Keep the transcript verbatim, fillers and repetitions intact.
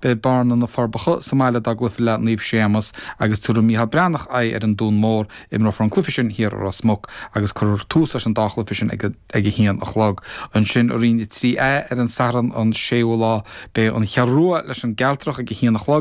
Beidh Bearna na Forbacha sa mbaile dá gcluiche le Naomh Séamus agus tabharfaidh Micheál Breathnach aghaidh ar an Dún Mór imreofar an cluiche sin thiar i Ros Muc agus cuirfear tús leis an dá chluiche sin ag ag a haon a chlog. Ansin i Roinn a trí A ar an Satharn an séú lá beidh an Cheathrú Rua leis an gCealtrach ag a haon a chlog.